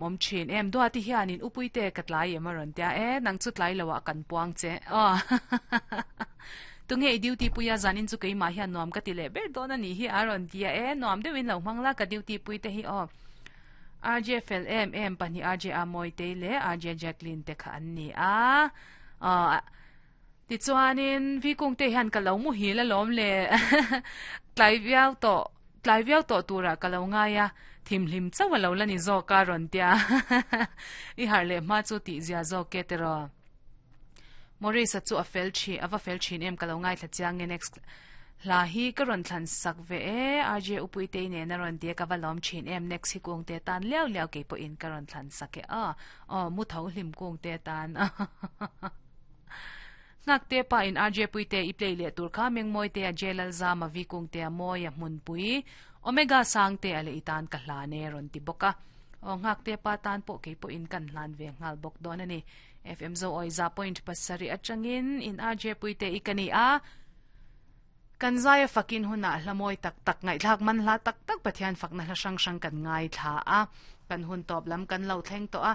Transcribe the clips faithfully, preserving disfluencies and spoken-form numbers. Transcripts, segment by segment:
Mawm thin em Duati hianin Upuite ka tlai em a rawn tia e nang chu tlai lo ah kan puang che aw tunge i duty puia zanin chu keimah hian nuam ka ti leh ber dawn a nih hi a rawn tia e nuam deuhin lo hmang la ka duty pui te hi aw R J fel em em pahnih R J Amawitei leh R J Jacqueline te kha an ni a aw Tichuanin Vikungte hian ka lo muhil alawm le tlai viau tawh tlai viau tawh turah ka lo ngai a, thimhlim chauh a lo la ni zawk a rawn tia i harh leh hma chu tih zia zawk e tiraw. Maurice-a chu a fel thin a va fel thin em ka lo ngaithla chiang e next hla hi ka rawn thlan sak ve e R J Upuitei nen a rawn ti a ka va lawm thin em next hi Kungte tan liau liau kei pawhin ka rawn thlan sak e aw aw mu tho hlim Kungte tan. Nghakte pa in R J Puite i play leh tur kha Mengmawite a J Lalzama V Kungte a Mawi a Hmunpui Omega Sangte a leh i tan ka hlan e rawn ti bawk a. Aw Nghakte pa tan pawh kei pawhin kan hlan ve nghal bawk dawn a ni. F M Zo Awi za point pasarih atangin in R J Puite i ka ni a. Kan zaia fakin hunah hla mawi tak tak ngaihthlak man hla tak tak Pathian fakna hla hrang hrang kan ngaithla a. Kan hun tawp lam kan lo thleng tawh a.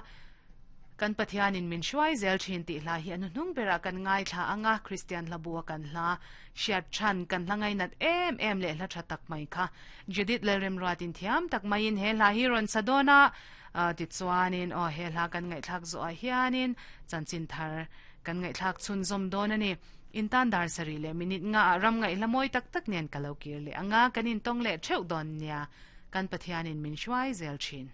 Kan Pathianin min hruai zel thin tih hla hi a hnuhnung berah kan ngaithla ang a, Kristian hla bua kan hla hriat than kan hla ngainat em em leh hla tha tak mai kha Judith Lalremruatin thiam tak maiin he hla hi rawn sa dawn a, tichuanin aw he hla kan ngaihthlak zawhah hianin chanchin thar kan ngaihthlak chhunzawm dawn a ni. Intan dar sarih leh minute nga ah ram ngaihla mawi tak tak nen ka lo kir leh ang a, kan intawng leh theuh dawn nia, kan Pathianin min hruai zel thin.